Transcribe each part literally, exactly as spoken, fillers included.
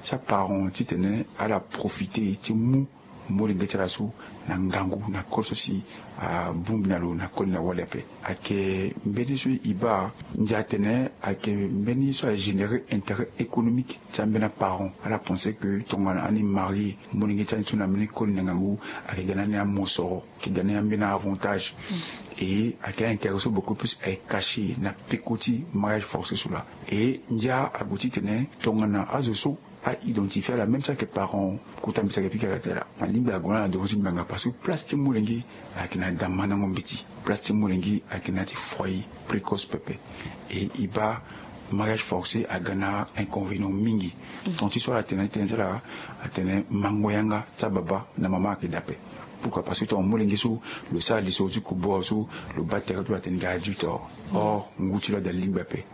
ti aparent titene ala profite ti mu molenge ti ala so na ngangu na koli so si abongbi na lo na koli na wali ape. Ayeke mbeni so e baa ndia atene ayeke mbeni so agénéré intérêt économique ti ambeni aparent. Ala pense que tongana ani marie molenge ti ani so na mbeni koli na ngangu, ayeke ga na ani amosoro, ayeke ga na ani ambeni avantage. Et ayeke aintérêt so beaucoup plus ayeke caché na peko ti mariage forcé so laa. Et ndia ague titene tongana azo so a identifier ala même si ayeke parent kota mbeti ayeke pika kata ala. Alingbi ague na ala devant ti ngbanga parce que place ti molenge ayeke na da mandango mbeti. Place ti molenge ayeke na ya ti foyer précoce pepe. Et e baa mariage forcé aga na inconvénient mingi. Ton ti so ala tene tene ti ala atene mango yanga ti ababa na mama ayeke dape. Pourquoi? Parce que ton molenge so lo sara lisoro ti kubu awe so lo baa tere ti lo atene ga adulte awe. Or ngu ti lo ada lingbi ape.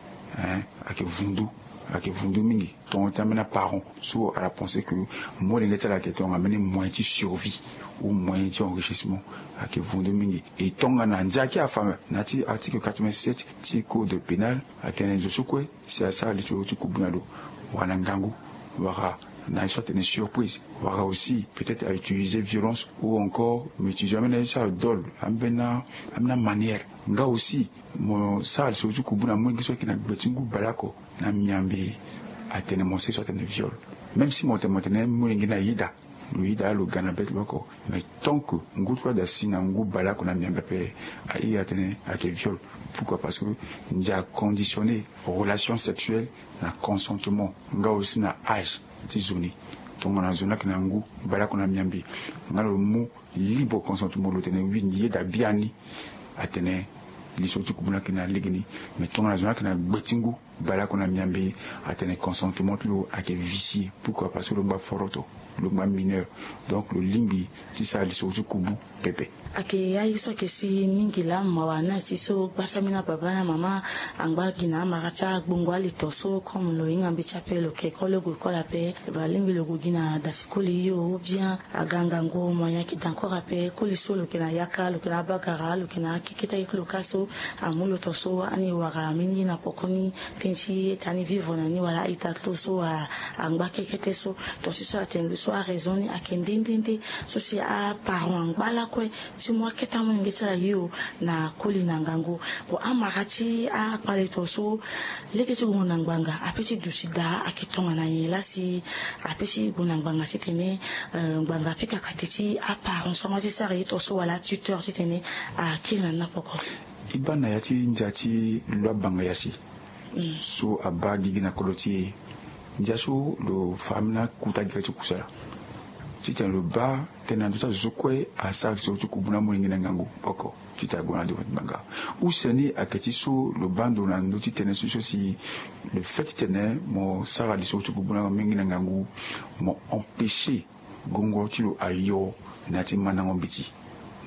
Ayeke vundu. Ayeke vundu mingi. Ton ti ambeni aparent so ala pense que molenge ti ala ayeke tongana mbeni moyen ti survie ou moyen ti enrichissement. Ayeke vundu mingi. E tongana ndia ki afa na ya ti article quatre-vingt-sept ti code pénal, atene zo so kue si asara lisoro ti kubu na lo wala na ngangu, wala na ye so atene surprise, wala aussi peut-être a utiliser violence ou encore mo utiliser ambeni aye so adole ambeni amanière. Nga aussi mo sara lisoro ti kubu na molenge so ayeke na gbe ti ngu baleoko na miambe, atene mo sere so atene viol. Même si mo tene mo tene molenge na yeda, lo yeda lo ga na be ti lo oko. Mais tant que ngu ti lo ada si na ngu baleoko na miambe ape, a iri atene ayeke viol. Pourquoi? Parce que ndia aconditionner relation sexuelle na consentement nga aussi na âge ti zo ni. Tongana zo ni ayeke na ngu baleoko na miambe nga lo mu libre consentement lo tene wi yeda biani, atene lisoro ti kubu ni ayeke na lege ni. Mais tongana zo ni ayeke na gbe ti ngu baleoko na miambe, atene consentement ti lo ayeke vicier. Pourquoi? Parce que lo ngba foroto, lo ngba mineur. Donc lo lingbi ti sara lisoro ti kubu pepe. Ayeke aye so ayeke si mingi laa mawa na ya ti so gbasa ambeni ababa na mama angba gi na amara ti agbongo aleto so comme lo hinga mbeti ape lo ke koli lo gue koli ape. Lo baa lingbi lo gue gi na da ti koli hio ou bien aga ngangu moyen ayeke da encore ape. Koli so lo yeke na yaka, lo yeke na abagara, lo yeke na akekete aye ti lo ka so amu lo ton so ani wara ambeni ye na poko ni. Tënë ti ita ni vivre na ni wala a-ita ti lo so angba kekete so. Ton ti so atene lo so araison ni ayeke nde nde nde so si aparent angba lakue ti mu akete amolenge ti ala hio na koli na ngangu. Bon, amara ti akpale ton so lege ti gue na ngbanga ape ti duti daa ayeke tongana nyen laa si ape ti gue na ngbanga titene ngbanga apika kate ti aparent so ama ti sara ye ton so wala atuteur titene akiri na ni na poko? E baa na ya ti ndia ti lo abanga ya si so abaa gigi na kodro ti e. Ndia so lo fa ambeni akuta gigi ti kusala titene lo baa tënë na ndö ti azo so kue asara lisoro ti kubu na amolenge na ngangu oko titene ague na devant ti ngbanga. Use ni ayeke ti so lo baa ndo na ndö ti tënë so so si le fait titene mo sara lisoro ti kubu na amolenge na ngangu, mo empêcher gongo ti lo ayo na ya ti mandango mbeti.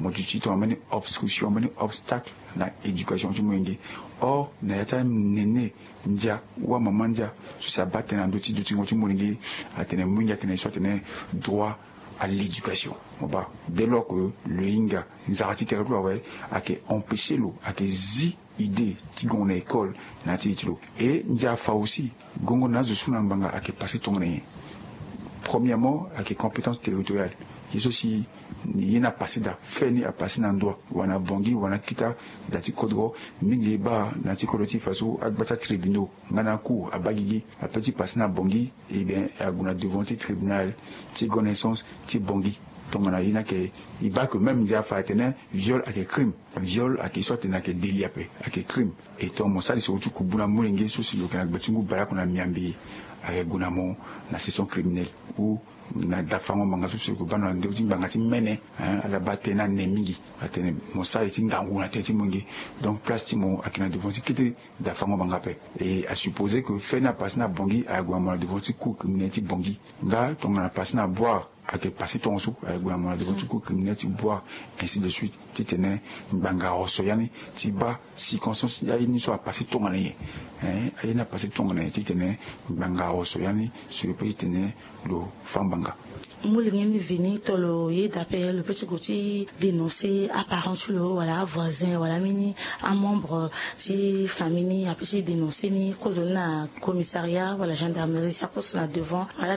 Mo duti tongana mbeni obstruction, mbeni obstacle na éducation ti molenge. Or na ya ti anene ndia ou amama ndia so si abaa tënë na ndö ti dutingo ti molenge, atene molenge ayeke na ye so atene droit à l'éducation. Mo baa dès lors que lo hinga nzara ti tere ti lo awe, ayeke empêcher lo, ayeke zi idée ti gongo na école na ya ti li ti lo. Et ndia afa aussi gongo na azo so na ngbanga ayeke passé tongana nyen? Premièrement ayeke compétence territoriale. Ye so si ye ni apassé daa, fait ni apassé na ndoa wala na bongi wala na kita da ti kodro. Mingi e baa na ya ti kodro ti e fa so agba ti atribunaux nga na acour abaa gigi ape ti passe na bongi. Eh bien ague na devant ti tribunal ti grande instance ti bongi. Tongana ye ni ayeke e baa que même ndia afa atene viol ayeke crime. Viol ayeke ye so atene ayeke délit ape, ayeke crime. Et tongana mo sara lisoro ti kubu na molenge so si lo yeke na gbe ti ngu baleoko na miambe, ayeke gue na mo na session criminelle ou na dafango ngbanga so si lo yeke baa na ndö ti ngbanga ti mene. Ala baa tënë ni ane mingi, atene mo sara ye ti ngangu na tënë ti molenge. Donc place ti mo ayeke na devant ti kete dafango ngbanga ape. Et asupposé que fait ni apassé na bongi, ague na mo na devant ti cour criminelle ti bongi. Nga tongana apassé na boire, ayeke passé tongaso, aye gue na mo na devant ti cour criminelle ti boire, ainsi de suite titene ngbanga aroso ya ni ti baa circonstance ya ye ni so apassé tongana nyen. Aye ni apassé tongana nyen titene ngbanga aroso ya ni so lo pe titene lo fa ngbanga. Molenge ni veni to lo yeda ape lo pe ti gue ti dénoncer aparent ti lo wala avoisin wala ambeni amembre ti famille ni ape ti dénoncer ni kozo ni na commissariat wala gendarmerie si aposo na devant wala.